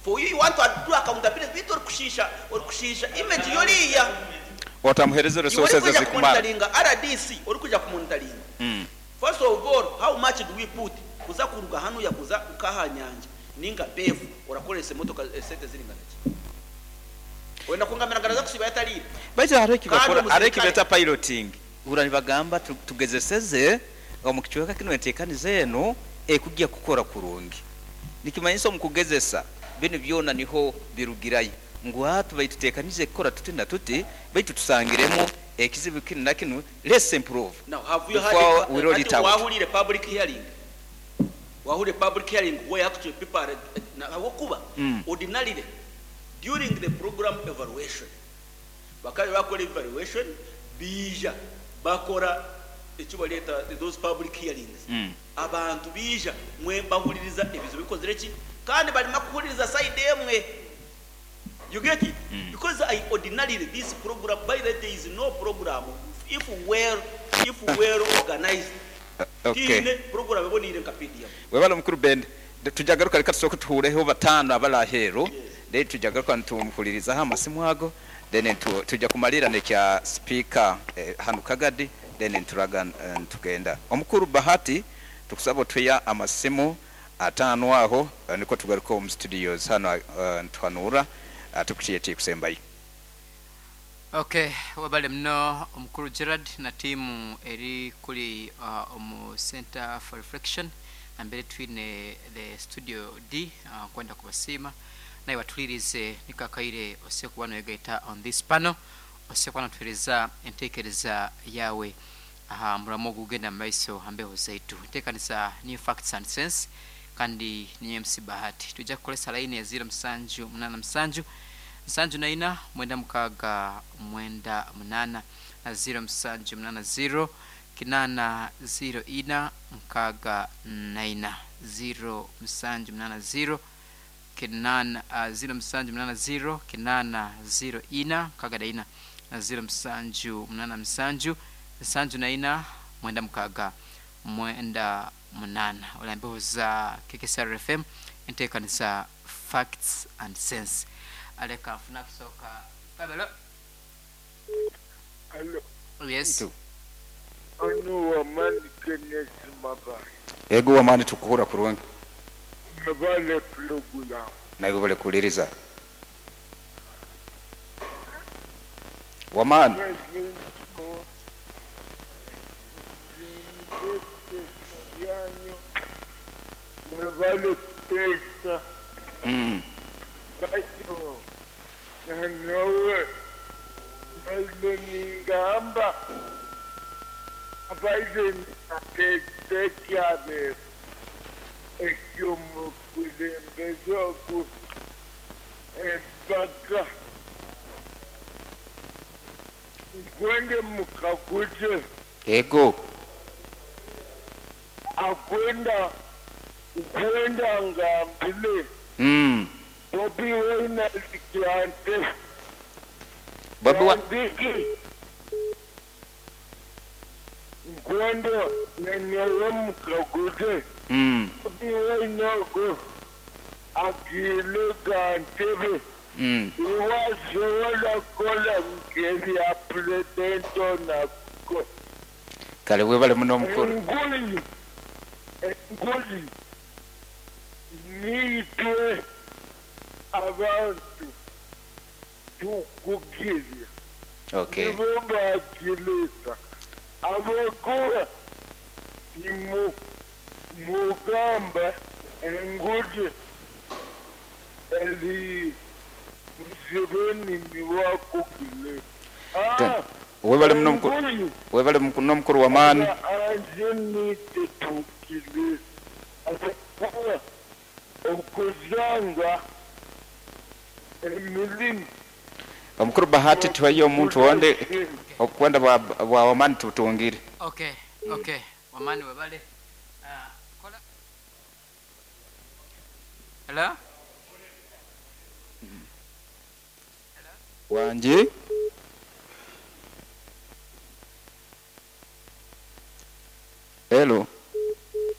For you, you want to do accountability, bitu orikushisha image yoriya. Otamuhereza resources Orikuja ezikumara. kumonitoringa RDC, orikuja kumonitoringa. First of all, how much do we put kuza kuruga hanu ya kuza ukaha nyanja ninga befu orakoresa emotoka sente ziringana ki? Wenda kungamira ngaraza kusiba yatalire. Baitu hariho ekibakora, Kandi hariho ekibeta omusirikale- piloting. Hura nibagamba tugezeseze omu kicweka kinu enteekaniza eno ekujja kukora kurungi. Nikimanyisa omu kugezesa binu byona niho birugirayo. Ngu hati baitu tuteekanize kukora tuti na tuti, baitu tusangiremu ekizibu kinu na kinu, let's improve. Now, have you had Before a, we roll it out. Wahulire public hearing? Wahulire public hearing where actually people are na hawokuba ordinarily during the program evaluation, bakaba bakora evaluation bija bakora icyo baleta those public hearings. Abantu bija mwe bahuliriza ebizo bikozere ki, kandi barimo kuhuliriza side emwe. You get it? Because I ordinarily this program, by the way, there is no program if well organized. Okay. Tiine program ebonire nka PDM. Webale mukuru Bende. Tujagaruka reka tusooke tuhureho batano abalaheru. Then tujagaruka nitumuhulirizaho amasimu ago. Then tujja kumalira nekya speaker hanu Kagadi, then nturaga ntugenda. Omukuru Bahati tukusaba otweya amasimu atano aho, niko tugaruka omu studios hano, ntuhanura tukutiye kusembayo. Okay, wabale mno omukuru Gerard na timu eri kuli omu Center for Reflection ambere twine the studio D, kwenda kubasima naye batulirize nikakaire osekuba noyegaita on this panel osekuba notwiriza entekereza yawe aha muramo gugenda mu maiso hambeho zaitu enteekaniza new facts and sense kandi ni MC Bahati. Tujja kukolesa line ya 0787 74 96 98 na 0780 804 64 0780 8 0780 804 64 na 0787 74 96 98. Olambeho za KKSR FM enteekaniza facts and sense. Aleka nfuna kusooka Babalo. Hello. Yes. Ano wamani Kenneth Mabaya. Ego wamani tukuhura kurungi. Mabale pulogula. Nawe bale kuliriza. Wamani. Mabale pesa. Bacho. Nawe. Ningamba. Abaire atetekyare ekyomukulembeze ogu empaka nkwende mukakute. Ego. Akwenda nkwenda ngambile. Bobi Wine alikyante. Bobi wa Nkwendo nenyewe mukagute. Bobi Wine ogu agile gantebe. Iwasobola kukola ngeri ya pulezidenti onako. Kale webale muno mukuru. Enguli, enguli niitwe abantu tukugirya. Okay. Nibo bagileta. Abakuba ni mugamba enguli eri Museveni niwakugile. Webale muno mukuru. Webale muno mukuru wa maani. Anjeni tetukile. Abakuba okuzanga emirimu. Omukuru Bahati tuwayo omuntu wonde okwenda bwa wamani tutungire. Okay, okay. Wamani webale. Kola. Hello? Wanje? Hello.